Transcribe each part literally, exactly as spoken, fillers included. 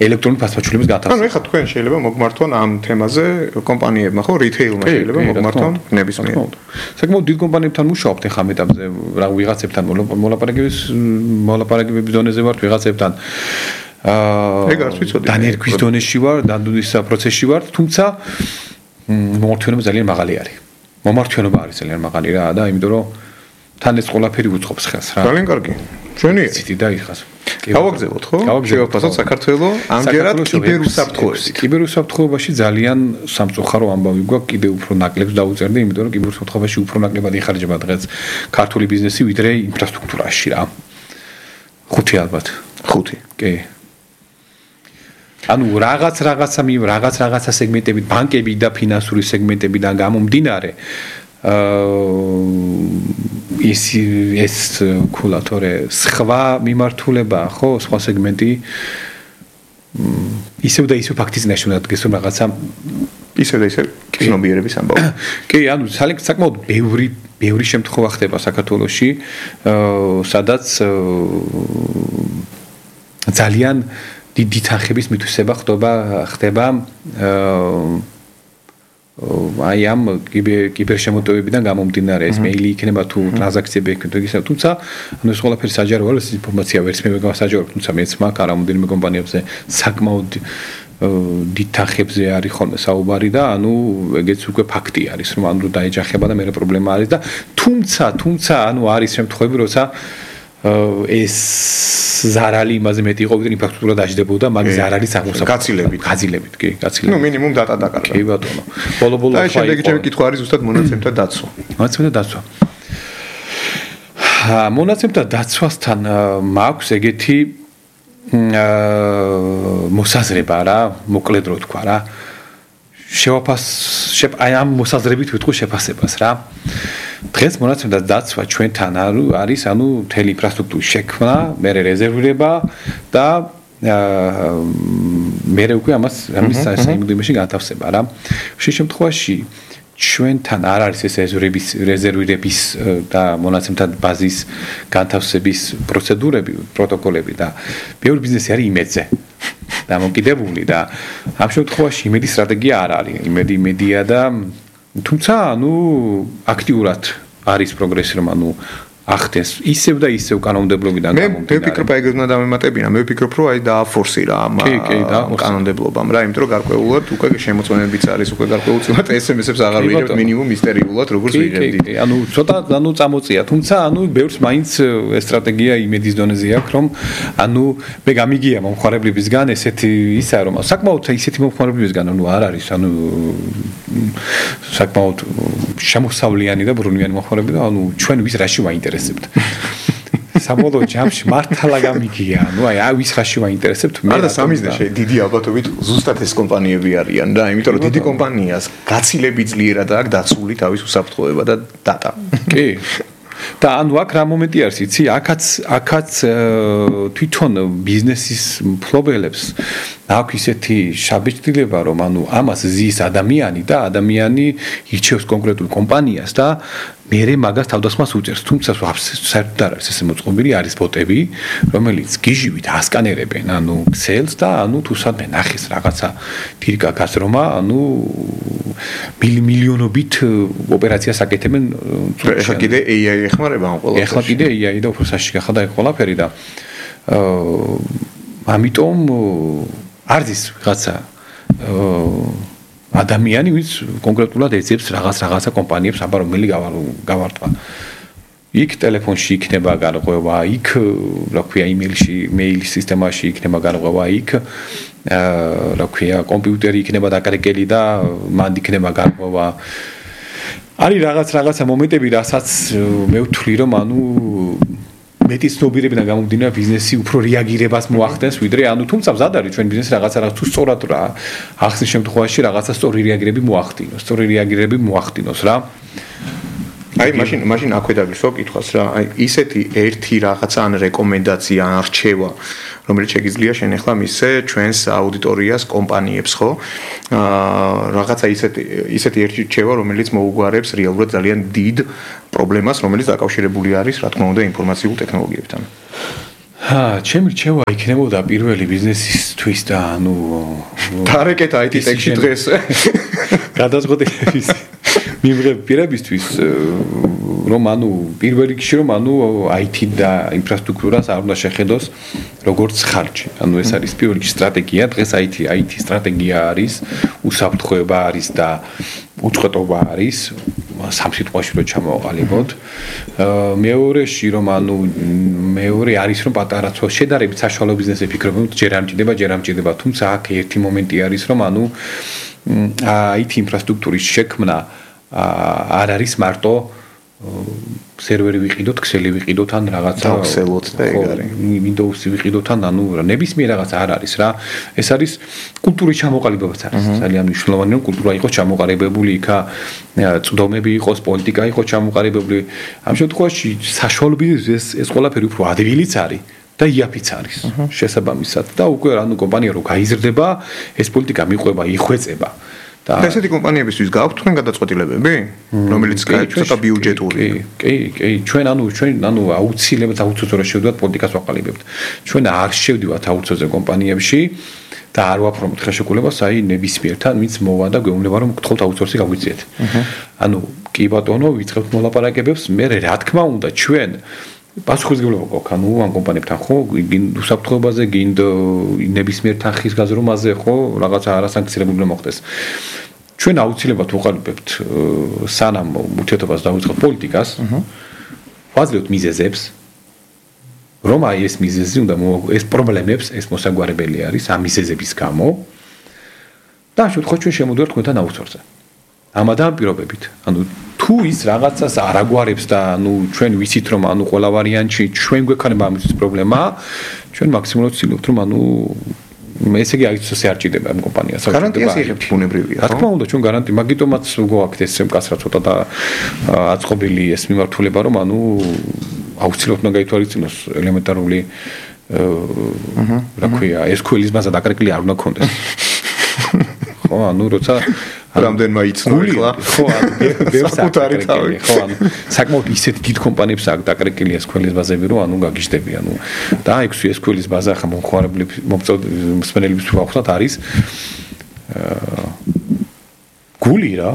ელექტრონული ფასმაჩვენებლების განთავსება. ანუ ეხლა თქვენ შეიძლება მოგმართონ ამ თემაზე კომპანიებმა, ხო, რიტეილმა შეიძლება მოგმართონ ნებისმიერ. საკმაოდ დიდ კომპანიებთან მუშაობთ ეხლა მეტაბზე, რა ვიღაცებთან მოლაპარაკების მოლაპარაკებების დონეზე ვართ ვიღაცებთან. აა ეგ არც ვიცოდი. დანერგვის დონეში ვარ, დანერგვის პროცესში ვარ, თუმცა მომართვენობა ძალიან მაღალი არის. მომართვენობა არის ძალიან მაღალი რა და იმიტომ რომ თან ეს ყველაფერი უწყობს ხელს რა. ძალიან კარგი. ჩვენი ციტი და იხას. გავაგზავნოთ ხო? შევაფასოთ საქართველოს ამჯერად კიბერუსაფრთხოებით. კიბერუსაფრთხოებაში ძალიან სამწუხარო ამბავი გვაქვს, კიდევ უფრო ნაკლებს დაუწერდი, იმიტომ რომ კიბერუსაფრთხოებაში უფრო ნაკლებად იხარჯება დღეს ქართული ბიზნესი ვიდრე ინფრასტრუქტურაში რა. ხუთი ალბათ. ხუთი. კი. ანუ რაღაც რაღაცა მი რაღაც რაღაცა სეგმენტებით, ბანკები და ფინანსური სეგმენტებიდან გამომდინარე აა ის ეს კულატორე სხვა მიმართულება ხო სხვა სეგმენტი ისევ და ისევ ფაქტის ნაშრომად გესო რაღაცა ისევ და ისევ ცნობიერების ამბავი. კი, ანუ საკმაოდ ბევრი ბევრი შემთხვევა ხდება საქართველოში, სადაც ძალიან დიდი თანხების მითვისება ხდება ხდება აი ამ კიბერშემოტევებიდან გამომდინარე ეს მეილი იქნება თუ ტრანზაქციები იქნება ისე თუმცა ანუ ეს ყველაფერი საჯარო არის ინფორმაცია ვერც მე მეგასაჯარო თუმცა მეც მაგ არ ამოდენიმე კომპანიებზე საკმაოდ დიდ თანხებზე არის ხოლმე საუბარი და ანუ ეგეც უკვე ფაქტი არის რომ ანუ დაეჯახება და მე პრობლემა არის და თუმცა თუმცა ანუ არის შემთხვევები როცა ეს ზარალი იმაზე მეტი იყო ვიდრე ინფრასტრუქტურა დაждდებოდა მაგ ზარალის აღმოსაყრელი გაცილებით გაცილებით კი გაცილებით ნუ მინიმუმ დატა დაკარგა კი ბატონო ბოლო ბოლო და შემდეგი ჩემი კითხვა არის ზუსტად მონაცემთა დაცვა მონაცემთა დაცვა მონაცემთა დაცვასთან მაქვს ეგეთი მოსაზრება რა მოკლედ რო თქვა რა შევაფას აი ამ მოსაზრებით ვიტყვი შეფასებას რა დღეს მონაცემთა დაცვა ჩვენთან არის ანუ მთელი ინფრასტრუქტურის შექმნა, მე რეზერვირება და მე უკვე ამას ამის საიმედოებაში განთავსება რა. შე შემთხვევაში ჩვენთან არ არის ეს რეზერვირების რეზერვირების და მონაცემთა ბაზის განთავსების პროცედურები, პროტოკოლები და ბევრი ბიზნესი არის იმედზე. დამოკიდებული და ამ შემთხვევაში იმედი სტრატეგია არ არის. იმედი იმედია და თუმცა ანუ აქტიურად არის პროგრესი რომ ანუ ახდენს ისევ და ისევ კანონმდებლობიდან გამომდინარე. მე ვფიქრობ აი ეგ უნდა დამემატებინა. მე ვფიქრობ რომ აი დააფორსირა ამ კანონმდებლობამ რა, იმიტომ რომ გარკვეულად უკვე შემოწმებებიც არის, უკვე გარკვეულწილად ეს ემ ეს-ებს აღარ ვიღებთ მინიმუმ მისტერიულად როგორც ვიღებდით. კი, ანუ ცოტა ანუ წამოწია, თუმცა ანუ ბევრს მაინც ეს სტრატეგია იმედის დონეზე აქვს რომ ანუ მე გამიგია მომხმარებლებისგან ესეთი ისა რომ საკმაოდ ისეთი მომხმარებლებისგან ანუ არ არის ანუ საკმაოდ შემოსავლიანი და ბრუნვიანი მომხმარებლები და ანუ ჩვენ ვის რაში ვაინტერესებთ საბოლოო ჯამში მართლა გამიგია ანუ აი აი ვის რაში ვაინტერესებთ მე და სამიზნეში დიდი ალბათობით ზუსტად ეს კომპანიები არიან რა იმიტომ რომ დიდი კომპანიას გაცილებით ძლიერად აქვს დაცული თავის უსაფრთხოება და დატა კი და ანუ აქ რა მომენტი არის იცი აქაც აქაც თვითონ ბიზნესის მფლობელებს აქვს ისეთი შაბეჭდილება რომ ანუ ამას ზის ადამიანი და ადამიანი ირჩევს კონკრეტულ კომპანიას და მერე მაგას თავდასხმას უწევს თუმცა საერთოდ არ არის ესე მოწყობილი არის ბოტები რომელიც გიჟივით ასკანერებენ ანუ ქსელს და ანუ თუ სადმე ნახეს რაღაცა თირკა გაზრომა ანუ მილიონობით ოპერაციას აკეთებენ ეხლა კიდე ეი აი ეხმარება ამ ყველაფერში ეხლა კიდე ეი აი და უფრო საშიში გახდა ეს ყველაფერი და ამიტომ არის რაღაცა ადამიანი ვინც კონკრეტულად ეძებს რაღაც რაღაცა კომპანიებს აბა რომელი გავარტყა იქ ტელეფონში იქნება გარღვევა იქ რა ქვია იმეილში მეილის სისტემაში იქნება გარღვევა იქ რა ქვია კომპიუტერი იქნება დაკარეკელი და მანდ იქნება გარღვევა არის რაღაც რაღაცა მომენტები რასაც მე ვთვლი რომ ანუ მეტი ცნობიერებიდან გამომდინარე ბიზნესი უფრო რეაგირებას მოახდენს ვიდრე ანუ თუმცა მზად არის ჩვენ ბიზნესი რაღაცა რაღაც თუ სწორად რა ახსნის შემთხვევაში რაღაცა სწორი რეაგირები მოახდინოს სწორი რეაგირები მოახდინოს რა აი მაშინ მაშინ აქვე დაგისვა კითხვას რა აი ისეთი ერთი რაღაცა ან რეკომენდაცია ან არჩევა რომელიც შეგიძლია შენ ახლა მისცე ჩვენს აუდიტორიას კომპანიებს ხო აა რაღაცა ისეთი ისეთი ერთი რჩევა რომელიც მოუგვარებს რეალურად ძალიან დიდ პრობლემას რომელიც დაკავშირებული არის რა თქმა უნდა ინფორმაციულ ტექნოლოგიებთან ჰა, ჩემი რჩევა იქნებოდა პირველი ბიზნესისთვის და ანუ დარეკეთ აი ტი ტექში დღეს. გადაწყვეტილების მიღებისთვის რომ ანუ პირველ რიგში რომ ანუ აი ტი და ინფრასტრუქტურას არ უნდა შეხედოს როგორც ხარჯი. ანუ ეს არის პირველ რიგში სტრატეგია. დღეს აი ტი აი ტი სტრატეგია არის, უსაფრთხოება არის და უწყვეტობა არის. სამ სიტყვაში რო ჩამოვყალიბოთ. მეორეში რომ ანუ მეორე არის რომ პატარა შედარებით საშუალო ბიზნესები ფიქრობენ, ჯერ არ მჭირდება, ჯერ არ მჭირდება, თუმცა აქ ერთი მომენტი არის რომ ანუ აი ტი ინფრასტრუქტურის შექმნა არ არის მარტო სერვერი ვიყიდოთ, ქსელი ვიყიდოთ ან რაღაცა დავხსელოთ და ეგ არის. Windows-ი ვიყიდოთ ან ანუ ნებისმიერ რაღაცა არ არის რა. ეს არის კულტურის ჩამოყალიბებაც არის. ძალიან მნიშვნელოვანია რომ კულტურა იყოს ჩამოყალიბებული, იქა წვდომები იყოს, პოლიტიკა იყოს ჩამოყალიბებული. ამ შემთხვევაში საშუალო ბიზნესს ეს ყველაფერი უფრო ადვილიც არის. და იაფიც არის შესაბამისად და უკვე ანუ კომპანია რო გაიზრდება, ეს პოლიტიკა მიყვება, იხვეწება. და ესეთი კომპანიებისთვის გაქვთ თქვენ გადაწყვეტილებები, რომელიც ცოტა ბიუჯეტური. კი, კი, ჩვენ ანუ ჩვენ ანუ აუცილებლად აუცილებლად რა შევდივართ პოლიტიკას ვაყალიბებთ. ჩვენ არ შევდივართ აუცილებლად კომპანიებში და არ ვაფორმოთ ხელშეკრულებას, აი ნებისმიერთან, ვინც მოვა და გვეუბნება რომ გთხოვთ აუცილებლად გაგვიწიეთ. ანუ კი ბატონო, ვიწყებთ მოლაპარაკებებს, მე რა თქმა უნდა ჩვენ პასუხისმგებლობა გვაქვს ანუ ამ კომპანიებთან ხო გინდ უსაფრთხოებაზე გინდ ნებისმიერ თანხის გაზრომაზე ხო რაღაცა არასანქცირებული უნდა მოხდეს ჩვენ აუცილებლად ვუყალიბებთ სანამ ურთიერთობას დავიწყებთ პოლიტიკას ვაძლევთ მიზეზებს რომ აი ეს მიზეზი უნდა ეს პრობლემებს ეს მოსაგვარებელი არის ამ მიზეზების გამო და შევთხოვთ ჩვენ შემოდივართ თქვენთან აუცილებლად ამადამ პირობებით ანუ თუ ის რაღაცას არ აგვარებს და ანუ ჩვენ ვიცით რომ ანუ ყველა ვარიანტში ჩვენ გვექნება ამის პრობლემა ჩვენ მაქსიმალურად ვცდილობთ რომ ანუ ესე იგი აიცოს არ ჭირდება ამ კომპანიას გარანტიას იღებთ ბუნებრივია რა თქმა უნდა ჩვენ გარანტი მაგიტომაც გვაქვს ეს მკაცრად ცოტა და აწყობილი ეს მიმართულება რომ ანუ აუცილებლად უნდა გაითვალისწინოს ელემენტარული რა ქვია ეს ქვილის ბაზა დაკრეკილი არ უნდა ქონდეს ხო ანუ როცა რამდენმა იცნო ახლა ხო საკუთარი თავი ხო ანუ საკმაოდ ისეთ დიდ კომპანიებს აქვს დაკრეკილი ეს ქვილის ბაზები რომ ანუ გაგიჟდები ანუ და აი ეს ქვილის ბაზა ხა მომხმარებლების მომწოდებლების ვახსნათ არის გული რა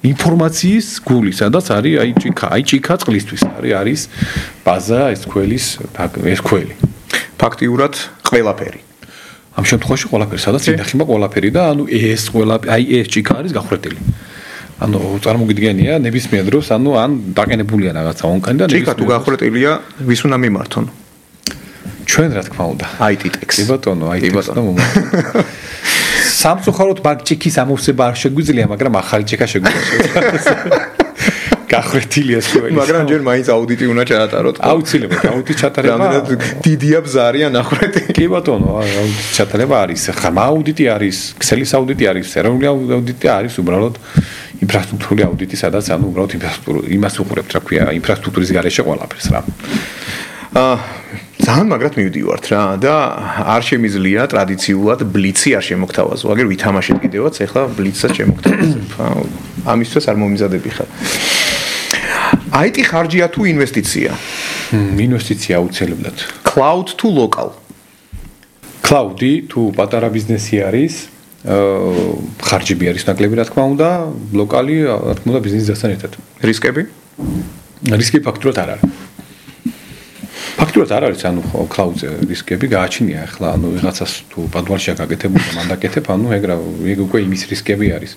ინფორმაციის გული სადაც არის აი ჭიქა აი ჭიქა წყლისთვის არის არის ბაზა ეს ქვილის ეს ქველი ფაქტიურად ყველაფერი ამ შემთხვევაში ყველაფერი სადაც ინახება ყველაფერი და ანუ ეს ყველაფერი აი ეს ჭიქა არის გახრეტილი. ანუ წარმოგიდგენია ნებისმიერ დროს ანუ ან დაყენებულია რაღაცა ონკანი და ჭიქა თუ გახრეტილია ვის უნდა მიმართონ? ჩვენ რა თქმა უნდა. აი ტი ტექს. კი ბატონო, აი ტი ტექს და მომართონ. სამწუხაროდ მაგ ჭიქის ამოვსება არ შეგვიძლია, მაგრამ ახალი ჭიქა შეგვიძლია. გახრეტილია სულ. მაგრამ ჯერ მაინც აუდიტი უნდა ჩაატაროთ. აუცილებლად აუდიტი ჩატარება. რამდენად დიდია ბზარია ნახრეტი. კი ბატონო, აუდიტი ჩატარება არის. ხმა აუდიტი არის, ქსელის აუდიტი არის, ეროვნული აუდიტი არის, უბრალოდ ინფრასტრუქტურული აუდიტი, სადაც ანუ უბრალოდ ინფრასტრუქტურა იმას უყურებთ, რა ქვია, ინფრასტრუქტურის გარეშე ყველაფერს რა. აა ძალიან მაგრად მივდივართ რა და არ შემიძლია ტრადიციულად ბლიცი არ შემოგთავაზო. აგერ ვითამაშეთ კიდევაც, ეხლა ბლიცსაც შემოგთავაზებ. ამისთვის არ მომიზადები ხარ. აი ტი ხარჯია თუ ინვესტიცია? ინვესტიცია აუცილებლად. Cloud თუ local? Cloud-ი თუ პატარა ბიზნესი არის, ხარჯები არის ნაკლები რა თქმა უნდა, ლოკალი რა თქმა უნდა ბიზნესთან ერთად. რისკები? რისკი ფაქტურად არ არის. ფაქტურად არ არის, ანუ cloud-ზე რისკები გააჩნია ახლა, ანუ ვიღაცას თუ პადვალშია გაკეთებული და მან დაკეთებ, ანუ ეგრა ეგ უკვე იმის რისკები არის.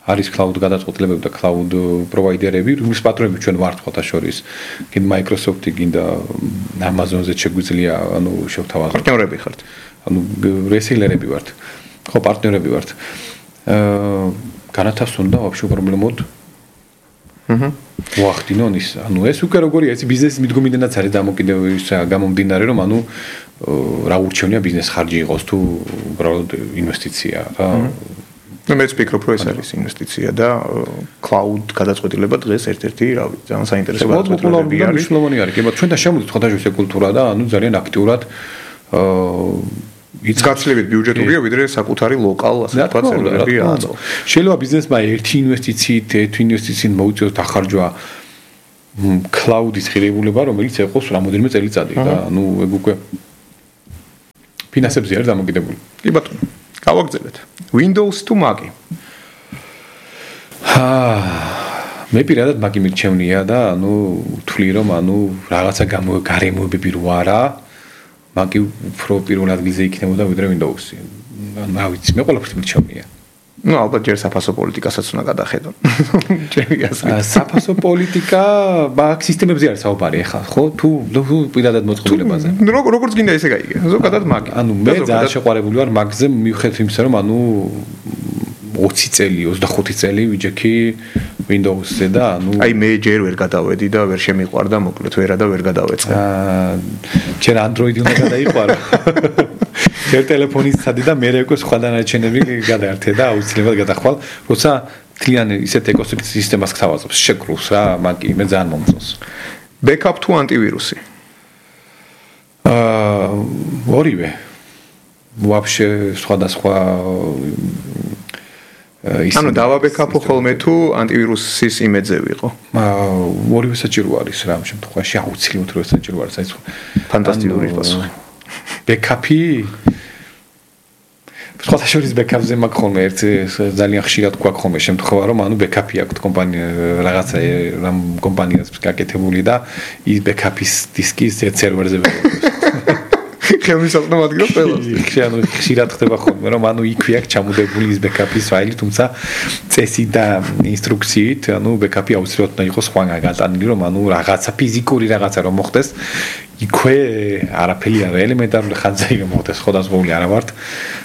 არის cloud გადაწყვეტილებები და cloud პროვაიდერები, რომლის პატრონები ჩვენ ვართ ხოთა შორის. გინდა Microsoft-ი, გინდა Amazon-ზე შეგვიძლია, ანუ შევთავაზოთ. პარტნიორები ხართ. ანუ რესეილერები ვართ. ხო, პარტნიორები ვართ. აა განათავსონ და ვაფშე პრობლემოდ. აჰა. ვახდინონ ის, ანუ ეს უკვე როგორია, ეს ბიზნესის მიდგომიდანაც არის დამოკიდებული გამომდინარე, რომ ანუ რა ურჩევნია ბიზნეს ხარჯი იყოს თუ უბრალოდ ინვესტიცია რა. ну მეც ვფიქრობ რომ ეს არის ინვესტიცია და cloud გადაწყვეტილება დღეს ერთ-ერთი რავი ძალიან საინტერესო გადაწყვეტილებები არის მნიშვნელოვანი არის კი მაგრამ ჩვენ და შემოვიდეთ ხოთაშორის კულტურა და ანუ ძალიან აქტიურად ის გაცილებით ბიუჯეტურია ვიდრე საკუთარი ლოკალ ასე ვთქვათ სერვერები აწო შეიძლება ბიზნესმა ერთი ინვესტიციით ერთი ინვესტიციით მოუწიოს დახარჯვა cloud-ის ღირებულება, რომელიც ეყოს რამოდენიმე წელიწადი და ანუ ეგ უკვე ფინანსებზე არის დამოკიდებული. კი ბატონო. გავაგრძელეთ. Windows თუ Mac-ი? აა მე პირადად Mac-ი მირჩევნია და ანუ ვთვლი რომ ანუ რაღაცა გარემოებები რო არა, Mac-ი უფრო პირველ ადგილზე იქნებოდა ვიდრე Windows-ი. რა ვიცი, მე ყველაფერს მირჩევნია. ну ალბათ ჯერ საფასო პოლიტიკასაც უნდა გადახედონ. ჩემი აზრით. საფასო პოლიტიკა Mac სისტემებზე არის საუბარი ახლა, ხო? თუ პირადად მოწყობილებაზე. ну როგორც გინდა ესე გაიგე. ზოგადად Mac. ანუ მე ძალიან შეყვარებული ვარ Mac-ზე მიუხედავად იმისა რომ ანუ ოცი წელი, ოცდახუთი წელი ვიჯექი Windows-ზე და ანუ აი მე ჯერ ვერ გადავედი და ვერ შემიყვარდა, მოკლედ ვერა და ვერ გადავეწყე. აა ჯერ Android-ი უნდა გადაიყვარო. ჯერ ტელეფონის სადი და მე უკვე სხვა დანარჩენები გადაერთე და აუცილებლად გადახვალ, როცა თლიან ისეთ ეკოსისტემას გთავაზობს, შეკრულს რა, Mac-ი მე ძალიან მომწონს. Backup თუ ანტივირუსი? აა ორივე. Вообще სხვადასხვა ანუ დავაბექაპო ხოლმე თუ ანტივირუსის იმედზე ვიყო. აა ორივე საჭირო არის რა ამ შემთხვევაში აუცილებლად რომ საჭირო არის აი სხვა. ფანტასტიკური პასუხი. ბექაპი სხვათა შორის ბექაპზე მაქვს ხოლმე ერთ ძალიან ხშირად გვაქვს ხოლმე შემთხვევა რომ ანუ ბექაპი აქვს კომპანია რაღაცა რამ კომპანიას გაკეთებული და ის ბექაპის დისკი სერვერზე ვეღებს. ხელმისაწვდომ ადგილას ყველას. ანუ ხშირად ხდება ხოლმე რომ ანუ იქვე აქვს ჩამოდებული ის ბექაპის ფაილი, თუმცა წესი და ინსტრუქციით ანუ ბექაპი აუცილებლად უნდა იყოს სხვაგან გატანილი რომ ანუ რაღაცა ფიზიკური რაღაცა რომ მოხდეს იქვე არაფერი არა ელემენტარული ხანძა რომ მოხდეს სხვადასხვაული არა ვართ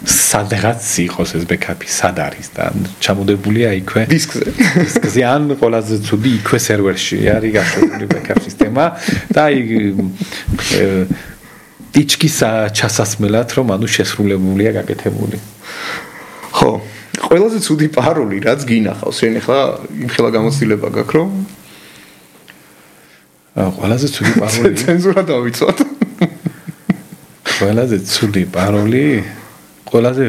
სადღაც იყოს ეს ბექაპი სად არის და ჩამოდებულია იქვე დისკზე დისკზე ან ყველაზე ცუდი იქვე სერვერში არის გაშენებული ბექაპ სისტემა და აი ტიჩკის ჩასასმელად რომ ანუ შესრულებულია გაკეთებული. ხო, ყველაზე ცუდი პაროლი რაც გინახავს, შენ ახლა იმხელა გამოცდილება გაქვს რომ ყველაზე ცუდი პაროლი ცენზურა დავიცვათ. ყველაზე ცუდი პაროლი ყველაზე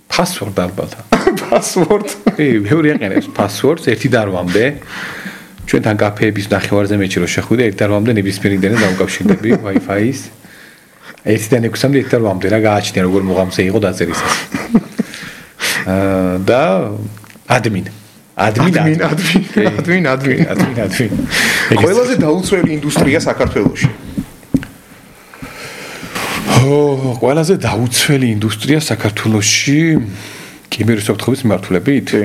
password ალბათ. password. კი, მეორე აყენებს passwords ერთი და რვამდე. ჩვენთან კაფეების ნახევარზე მეჩი რო შეხვიდე ერთი და რვამდე ნებისმიერ ინტერნეტს დავუკავშირდები Wi-Fi-ის. ერთი და ექვსამდე ერთი და რვამდე რა გააჩნია როგორ მოღამზე იყო დაწერისას. აა და admin. admin admin admin admin admin admin. ყველაზე დაუცველი ინდუსტრია საქართველოში. ო, ყველაზე დაუცველი ინდუსტრია საქართველოში კიბერუსაფრთხოების მიმართულებით? კი.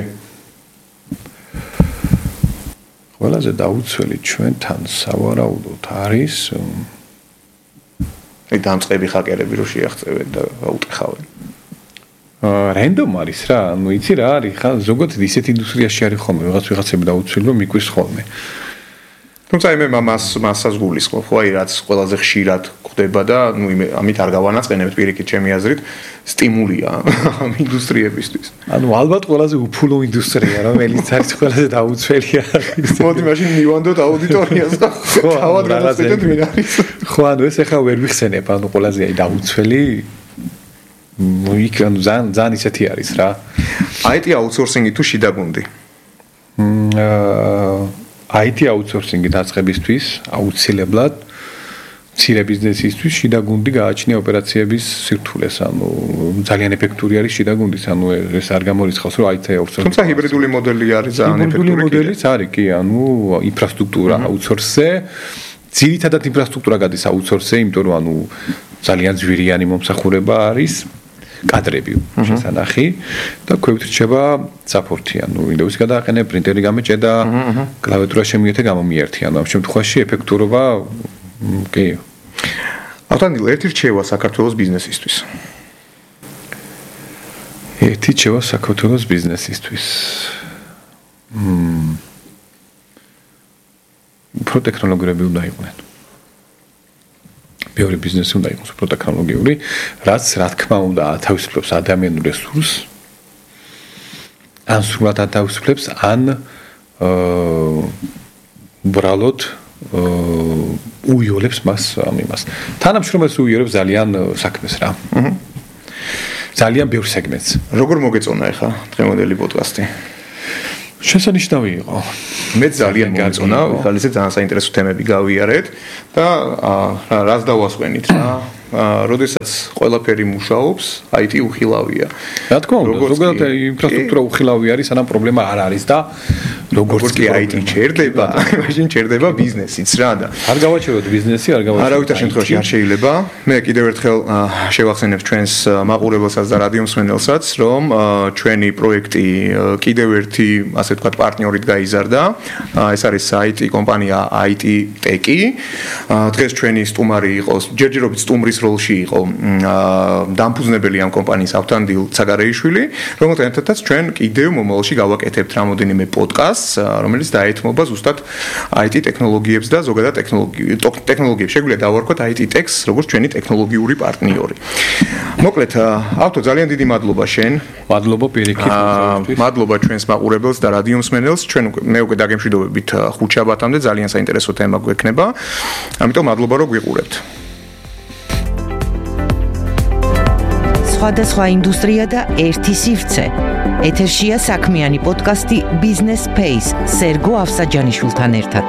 ყველაზე დაუცველი ჩვენთან სავარაუდოდ არის აი დამწყები ჰაკერები რო შეაღწევენ და აუტეხავენ. აა რენდომ არის რა, ну იცი რა არის, ხა ზოგადად ისეთ ინდუსტრიაში არის ხოლმე რაღაც ვიღაცები დაუცველი რომ მიკვის ხოლმე. თუმცა მე მას მასას გულისხმობ, ხო აი რაც ყველაზე ხშირად ხდება და ну ამით არ გავანაწყენებთ პირიქით ჩემი აზრით, სტიმულია ამ ინდუსტრიებისთვის. ანუ ალბათ ყველაზე უფულო ინდუსტრია, რომელიც არის ყველაზე დაუცველია. მოდი მაშინ მივანდოთ აუდიტორიას და თავად გადაწყვეტეთ ვინ არის. ხო, ანუ ეს ახლა ვერ ვიხსენებ, ანუ ყველაზე აი დაუცველი მოიქ ანუ ზან ზან ისეთი არის რა. აი ტი აუთსორსინგი თუ შიდა გუნდი? აა აი ტი აუთსორსინგი დაწყებისთვის აუცილებლად მცირე ბიზნესისთვის შიდა გუნდი გააჩნია ოპერაციების სირთულეს, ანუ ძალიან ეფექტური არის შიდა გუნდის, ანუ ეს არ გამორიცხავს რომ აი ტი აუთსორსინგი. თუმცა ჰიბრიდული მოდელი არის ძალიან ეფექტური. ჰიბრიდული მოდელიც არის კი, ანუ ინფრასტრუქტურა აუთსორსზე, ძირითადად ინფრასტრუქტურა გადის აუთსორსზე, იმიტომ რომ ანუ ძალიან ძვირიანი მომსახურება არის. კადრები შესანახი და ქვევით რჩება საპორტი, ანუ Windows-ი გადააყენე, პრინტერი გამეჭედა, კლავიატურა შემოიერთე, გამომიერთე, ანუ ამ შემთხვევაში ეფექტურობა კი. ავთანდილ ერთი რჩევა საქართველოს ბიზნესისთვის. ერთი რჩევა საქართველოს ბიზნესისთვის. მმ. უფრო ტექნოლოგიები უნდა იყვნენ. ბევრი ბიზნესი უნდა იყოს უფრო ტექნოლოგიური, რაც რა თქმა უნდა ათავისუფლებს ადამიანურ რესურსს. ან სრულად ათავისუფლებს, ან აა ბრალოდ უიოლებს მას ამ იმას. თანამშრომელს უიოლებს ძალიან საქმეს რა. აჰა. ძალიან ბევრ სეგმენტს. როგორ მოგეწონა ახლა დღევანდელი პოდკასტი? შესანიშნავი იყო. მე ძალიან მომწონა, ხალ ისე ძალიან საინტერესო თემები გავიარეთ და რას დავასვენით რა. როდესაც ყველაფერი მუშაობს, აი ტი უხილავია. რა თქმა უნდა, ზოგადად ინფრასტრუქტურა უხილავი არის, სანამ პრობლემა არ არის და როგორც კი აი ტი ჩერდება, მაშინ ჩერდება ბიზნესიც რა და არ გავაჩეროთ ბიზნესი, არ გავაჩეროთ. არავითარ შემთხვევაში არ შეიძლება. მე კიდევ ერთხელ შევახსენებ ჩვენს მაყურებელსაც და რადიო მსმენელსაც, რომ ჩვენი პროექტი კიდევ ერთი, ასე ვთქვათ, პარტნიორით გაიზარდა. ეს არის აი ტი კომპანია აი ტი ტეკი. დღეს ჩვენი სტუმარი იყო, ჯერჯერობით სტუმრის როლში იყო დამფუძნებელი ამ კომპანიის ავთანდილ ცაგარეიშვილი, რომელთან ერთადაც ჩვენ კიდევ მომავალში გავაკეთებთ რამოდენიმე პოდკასტს, რომელიც დაეთმობა ზუსტად აი ტი ტექნოლოგიებს და ზოგადად ტექნოლოგიებს. შეგვიძლია დავარქვათ აი ტი ტექს, როგორც ჩვენი ტექნოლოგიური პარტნიორი. მოკლედ, ავთო, ძალიან დიდი მადლობა შენ. მადლობა პირიქით. მადლობა ჩვენს მაყურებელს და რადიო მსმენელს. ჩვენ მე უკვე დაგემშვიდობებით ხუთშაბათამდე, ძალიან საინტერესო თემა გვექნება. ამიტომ მადლობა რომ გვიყურებთ. სხვადასხვა ინდუსტრია და ერთი სივრცე. ეთერშია საქმიანი პოდკასტი Business Space სერგო ავსაჯანიშვილთან ერთად.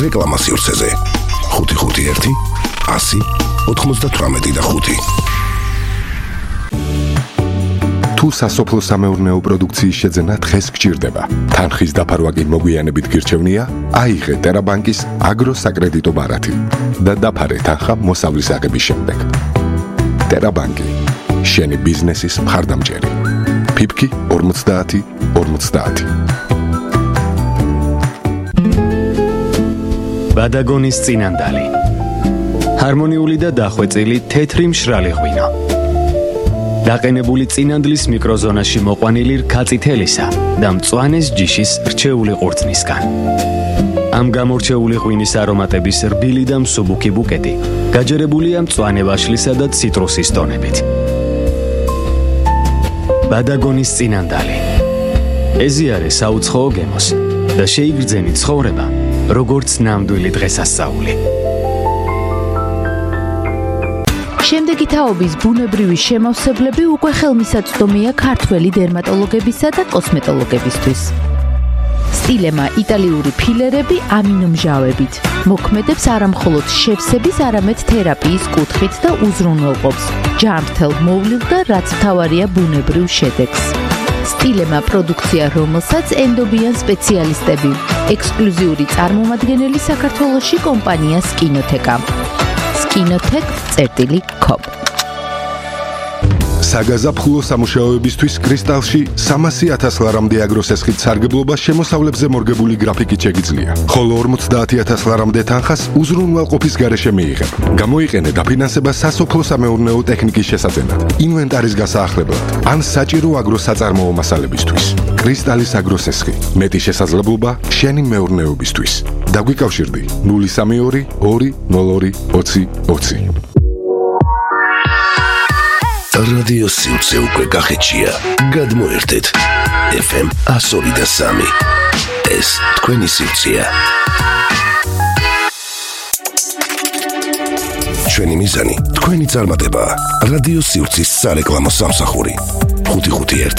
რეკლამა სივრცეზე ხუთი ხუთი ერთი ასი ოთხმოცდათვრამეტი და ხუთი. თუ სასოფლო სამეურნეო პროდუქციის შეძენა დღეს გჭირდება, თანხის დაფარვა კი მოგვიანებით გირჩევნია, აიღე ტერაბანკის აგროსაკრედიტო ბარათი და დაფარე თანხა მოსავლის აღების შემდეგ. ტერაბანკი, შენი ბიზნესის მხარდამჭერი. ფიფკი ორმოცდაათი ორმოცდაათი. ბადაგონის წინანდალი. ჰარმონიული და დახვეწილი თეთრი მშრალი ღვინო. დაყენებული წინანდლის მიკროზონაში მოყვანილი რქაწითელისა და მწვანეს ჯიშის რჩეული ყურძნისგან. ამ გამორჩეული ღვინის არომატების რბილი და მსუბუქი ბუკეტი გაჯერებულია მწვანე ვაშლისა და ციტრუსის ტონებით. ბადაგონის წინანდალი. ეზიარე საუცხოო გემოს და შეიგრძენი ცხოვრება, როგორც ნამდვილი დღესასწაული. შემდეგი თაობის ბუნებრივი შემავსებლები უკვე ხელმისაწვდომია ქართველი დერმატოლოგებისა და კოსმეტოლოგებისთვის. სტილემა იტალიური ფილერები ამინომჟავებით მოქმედებს არამხოლოდ შევსების, არამედ თერაპიის კუთხით და უზრუნველყოფს ჯანმრთელ მოვლილ და რაც მთავარია ბუნებრივ შედეგს. სტილემა პროდუქცია, რომელსაც ენდობიან სპეციალისტები, ექსკლუზიური წარმომადგენელი საქართველოში კომპანია სკინოთეკა. სკინოთეკ წერტილი კომ. საგაზაფხულო სამუშაოებისთვის კრისტალში სამასი ათას ლარამდე აგროსესხით სარგებლობა შემოსავლებზე მორგებული გრაფიკით შეგიძლია. ხოლო ორმოცდაათი ათას ლარამდე თანხას უზრუნველყოფის გარეშე მიიღებ. გამოიყენე დაფინანსება სასოფლო სამეურნეო ტექნიკის შესაძენად, ინვენტარის გასაახლებლად, ან საჭირო აგროსაწარმოო მასალებისთვის. კრისტალის აგროსესხი, მეტი შესაძლებლობა შენი მეურნეობისთვის. დაგვიკავშირდი ნული სამი ორი ორი ნულ ორი ოცი ოცი. რადიო სივრცე უკვე გახეთშია. გადმოერთეთ ეფ ემ ას ორი და სამი. ეს თქვენი სივრცეა. ჩვენი მიზანი თქვენი წარმატებაა. რადიო სივრცის სარეკლამო სამსახური. ხუთი ხუთი ერთი